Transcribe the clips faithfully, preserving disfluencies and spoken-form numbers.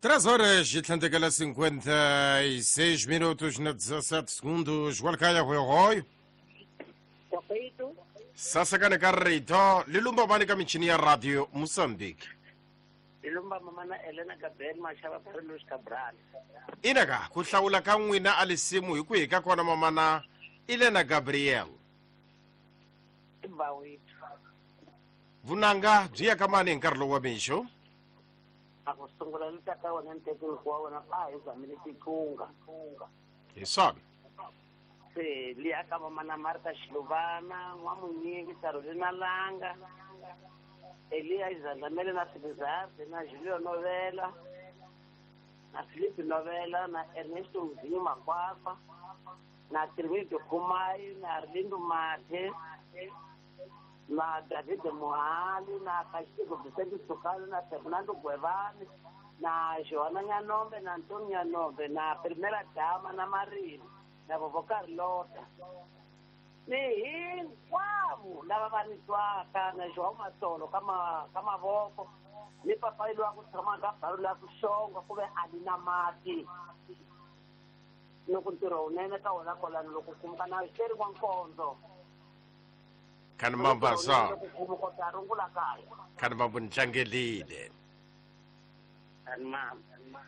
Três horas e tlhandlekela cinquenta e seis minutos na dezessete segundos. Walkaya hoyo. Sasakane ka rito lilumba mani ka michini ya radio Mozambique. Lilumba mamana Elena Gabriel Mashaba Carlos Cabral. Inaka ku hlawula ka n'wina a lisimu hi ku hi ka kona mamana Elena Gabriel. Bawethu. Vunanga byi ya ka mani hi nkarhi lowu wa mixo? A ku sungula ni tata wena ntekeni wa wena a hi zamile titlunga. Hi swona. Se liya ka mamana Martha Xiluvana, N'wamunyingi, Carolina Langa, Elia Izandamele na Silizarde, na Julio Novela, na Felipe Novela, na Ernesto Mzinho Makwakwa, na Trimido Kumai, na Arlindo Mathe, na David Mohali, na Castigo Vicente Sukalo, na Fernando Guevara, na Joana Nhanombe, na Antônio Nhanombe, na Primeira Dama, na Marina, na vovó Carlota. Ni hinkwavo lava va ni twaka na João Matsolo ka ma ka mavoko ni papai loyi a ku tshama ka balo la ku xonga ku ve a ni na mati loko ntirho wunene ka wona kwalano loko kumuka na xeri wa nkondzo Kani mamba sa loko kota rungula kaya kani mambo ni tlangelile kani mamba.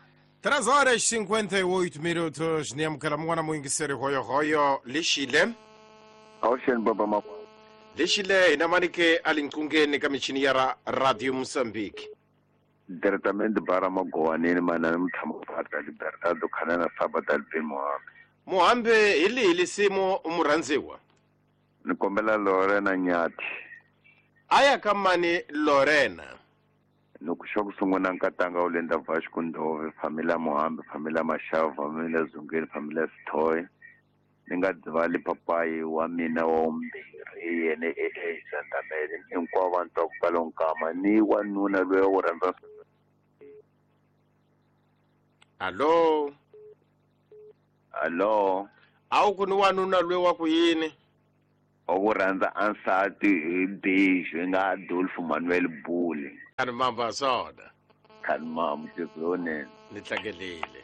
Três horas e cinquenta e oito minutos ni amukela mun'wana muyingiseri hoyo hoyo lexile. Awuxeni baba ma. Lexile hina manike a linqungeni ka michini ya ra Radio Mozambique. Diretamente bara magowanini manana mutshama pata Libertado Khanana Sabata Alvin Muhambe. Muhambe hi lihi lisimu murhandziwa? Ni kombela Lorena Nyathi. Aya ka mani Lorena? Loko xa ku sungula nkatanga wu lenda Vasco Ndove, familia Muhambe, familia Mashava, familia Zungeni, familia Sithoy. Ni nga dzivali papayi wa mina wa vumbirhi yena e Zandamele hinkwavo vanhu twa ku pfala nkama ni wanuna loyi wo rhandza. Allo. Allo. A wu ku ni wanuna loyi wa ku yini? Wa ku rhandza ansati hi bixo hi nga Adolfo Manuel Bule. Kani mamba swona. Kani mamba tizonene. Ni tlangelile.